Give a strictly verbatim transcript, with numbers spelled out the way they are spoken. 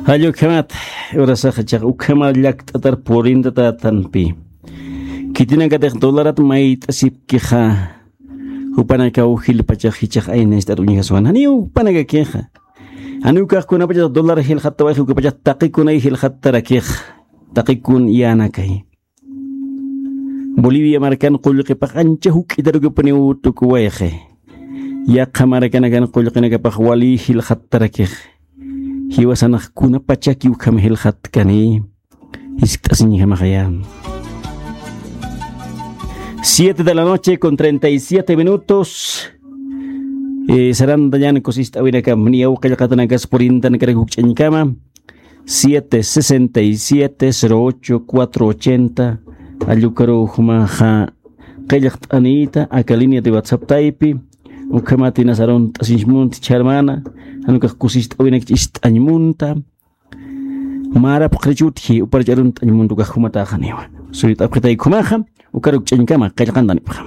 Jall ukhamat, urasaxa chiqa ukhama llakt'atar purintatätanpi. Khitinakatix dolarat mayt'asipkixa, jupanakaw jilpachax jichhax ayna ist'at uñjaswan. Janiw jupanakakixa. Janiw ukax kunapachatix dólar jilxattawayxi, ukapachax taqikunay jilxattarakix. Taqikun yänakay. Bolivia markan qullqipax ancha juk'itarukipuniw tukuwayxi. Yaqha markanakan qullqinakapax wali jilxattarakix. Jiwasanax kunapachaki ukham jilxatkani. Jiskt'asiñjamaxaya. Siete de la noche con treinta y siete minutos. Eh, sarantañan kusist'awinakam, niyaw qillqatanakas purintanakarak jukch'añkama. Siete sesenta y siete, cero ocho, cuatro ochenta, allukaru jumaxa qillqt'anïta, aka línea de WhatsApp taypi, ukhamat inas arunt'asiñmunta chharmana, jan ukax kusist'awinakich ist'añmunta, märapxrichutji, uparach arunt'añmunta ukax jumataxaniwa. Suyt'apxitay jumaxa, ukaruk ch'añkama, qillqantanipxa.